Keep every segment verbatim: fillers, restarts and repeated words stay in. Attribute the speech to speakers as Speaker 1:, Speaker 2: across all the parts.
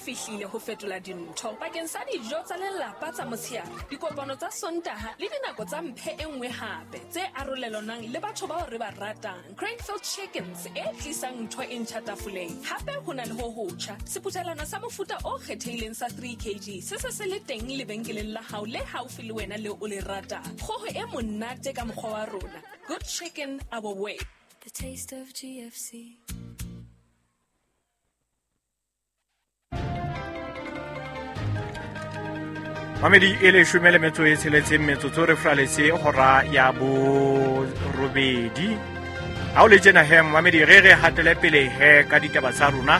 Speaker 1: fihlile ho fetola dintho bakeng sa dijo tsa lelapa tsa motshehare, dikopano tsa Sontaha le dinako tsa mphe e nngwe hape tse arolelanang le batho bao re ba ratang. Cranefield Chickens e tlisang ntho e ntjha tafoleng. Hape ho na le ho hotjha, sephuthelwana sa mofuta o kgethehileng sa three kg se se se le teng lebenkeleng la hao le haufi le wena leo o le ratang. Kgoho e monate ka mokgwa wa rona. Good chicken our way.
Speaker 2: The taste of G F C.
Speaker 3: Mamedi e leshome le metso e tsheletseng metsotso re fraletse hora ya borobedi. Ha o le tjena he mamedi re re hatele pele he ka ditaba tsa rona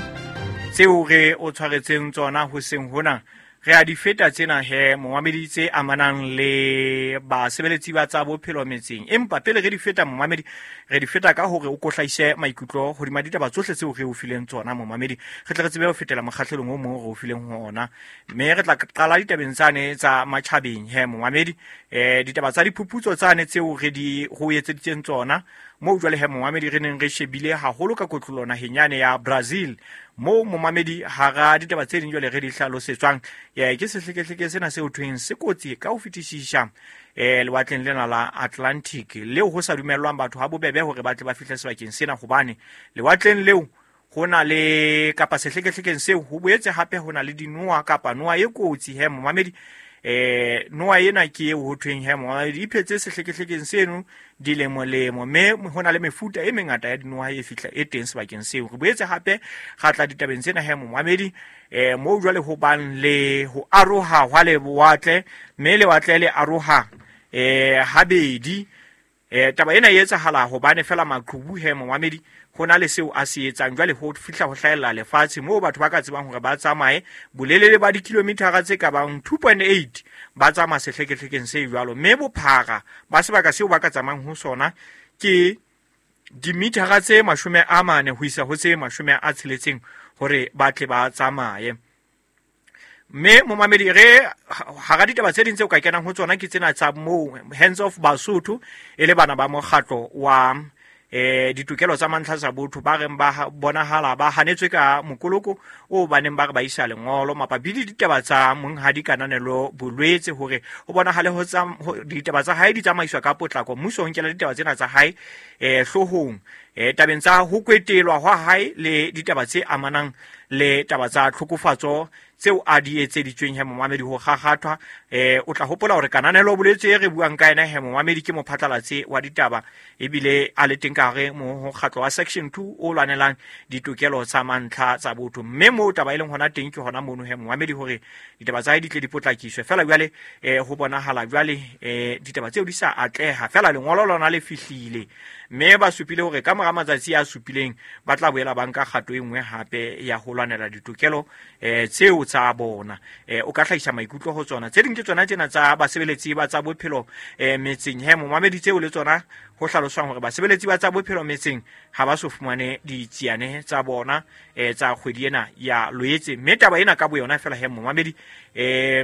Speaker 3: tseo re o tshwaretseng tsona hoseng hona. Re a di feta tsena he momamedi tse amanang le basebeletsi ba tsa bophelo metseng. Empa pele re di feta momamedi, re di feta ka hore o kohlaise maikutlo hodima ditaba tsohle tseo re o fileng tsona momamedi. Re tle re tsebe ho fetela mokgahlelong o mong re o fileng ho ona. Mme re tla qala ditabeng tsane tsa matjhabeng he momamedi. Eh, ditaba tsa diphuputso tsane tseo re di ho etseditseng tsona moo jwale he momamedi re neng re shebile haholo ka kotlolo naheng yane ya Brazil. Moo momamedi hara ditaba tse ding jwale re di hlalosetswang, eh, ke sehlekehleke sena seo thweng se kotsi ka ho fetisisa, eh, lewatleng lena la Atlantic, leo ho sa dumellwang batho ha bobebe hore ba tle ba fihle sebakeng sena, hobane lewatleng leo ho na le kapa sehlekehlekeng seo ho boetse hape ho na le dinoha kapa noha e kotsi he momamedi. Eh, noha ena ke eo ho thweng he momamedi e phetse sehlekehlekeng seno dilemolemo, mme ho na le mefuta e mengata ya dinoha e fihla e teng sebakeng seo. Re boetse hape ra tla ditabeng tsena he momamedi, eh, moo jwale ho bang le ho aroha hwa lewatle, mme lewatle le aroha, eh, habedi. Eh, taba ena e etsahala hobane fela maqhubu he momamedi ho na le seo a se etsang. Jwale ho fihla ho hlahella lefatshe moo batho ba ka tsebang hore ba tsamaye bolelele ba dikilomitara tse ka bang two point eight ba tsamaya sehlekehlekeng se jwalo, mme bophara ba sebaka seo ba ka tsamayang ho sona ke dimitara tse mashome a mane ho isa ho tse mashome a tsheletseng hore ba tle ba tsamaye. Mme momamedi re hara ditaba tse ding tseo ka kenang ho tsona ke tsena tsa moo Hands of Basotho e le bana ba mokgatlo wa eh ditokelo tsa mantlha tsa botho ba reng ba bonahala ba hanetswe ka mokoloko o baneng ba re ba isa lengolo mabapi le ditaba tsa monghadi Kananelo Bolwetse hore ho bonahale ho tsa ditaba tsa hae di tsamaiswa ka potlako. Mmuso o nkela ditaba tsena tsa hae eh hloohong, eh tabeng tsa ho kwetelwa hwa hae le ditaba tse amanang le taba tsa tlhokofatso tseo a di etseditsweng he momamedi ho kgakgathwa. Eh, o tla hopola hore Kananelo Bolwetse e re buang ka yena he momamedi ke mophatlalatsi wa ditaba ebile a le teng ka hare mokgatlo wa Section two o lwanelang ditokelo tsa mantlha tsa botho. Mme moo taba e leng hona teng ke hona mono he momamedi hore ditaba tsa hae di tle di potlakiswe. Fela jwale eh, ho bonahala jwale eh, ditaba tseo di sa atleha, fela lengolo lona le fihlile mme ba supile hore ka mora matsatsi a supileng ba tla boela ba nka kgato e nngwe hape ya ho lwanela ditokelo eh, tseo tsa bona. Eh, o ka hlahisa maikutlo ho tsona. Tse ding ke tsona tsena tsa basebeletsi ba tsa bophelo eh, metseng he momamedi tseo le tsona ho hlaloswang hore basebeletsi ba tsa bophelo metseng ha ba so fumane ditsiane tsa bona eh, tsa kgwedi ena ya Loetse. Mme taba ena ka boyona fela he momamedi eh,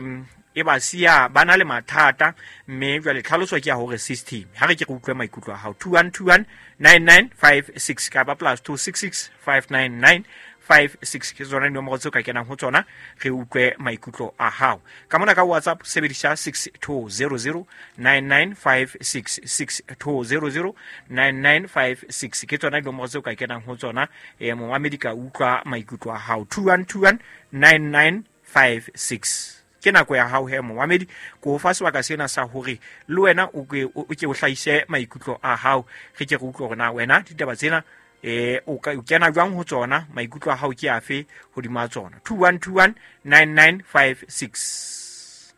Speaker 3: e ba siya ba na le mathata, mme jwale tlhaloso ke ya hore system. Ha re ke re utlwe maikutlo a hao. two one two one nine nine five six kapa plus two six six five nine nine five six ke tsona dinomoro tseo ka kenang ho tsona, re utlwe maikutlo a hao. Ka mona ka WhatsApp sebedisa six two zero zero nine nine five six, six two zero zero nine nine five six ke tsona dinomoro tseo ka kenang ho tsona. Eh, momamedi ka utlwa maikutlo a hao. two one two one nine nine five six ke nako ya hao he momamedi, ko o fa sebaka sena sa hore le wena o ke o ke o hlahise maikutlo a hao, re ke re utlwe hore na wena ditaba tsena eh o ka o kena jwang ho tsona, maikutlo a hao ke afe hodima tsona. two one two one nine nine five six.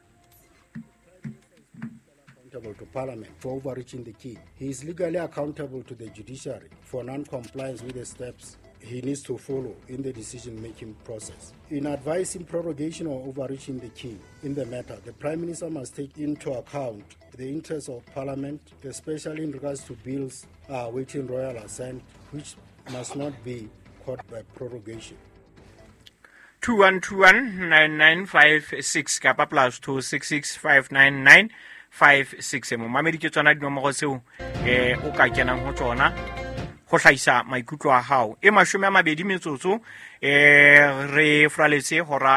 Speaker 4: Accountable to Parliament for overreaching the king. He is legally accountable to the judiciary for non-compliance with the steps he needs to follow in the decision-making process. In advising prorogation or overreaching the king in the matter, the Prime Minister must take into account the interests of Parliament, especially in regards to bills awaiting royal assent, which must not be caught by prorogation.
Speaker 3: two one two one nine nine five six kapa plus two six six five nine nine five six. Momamedi ke tsona dinomoro tseo eh o ka kenang ho tsona ho hlahisa maikutlo a hao. E mashome a mabedi metsotso eh re fraletse hora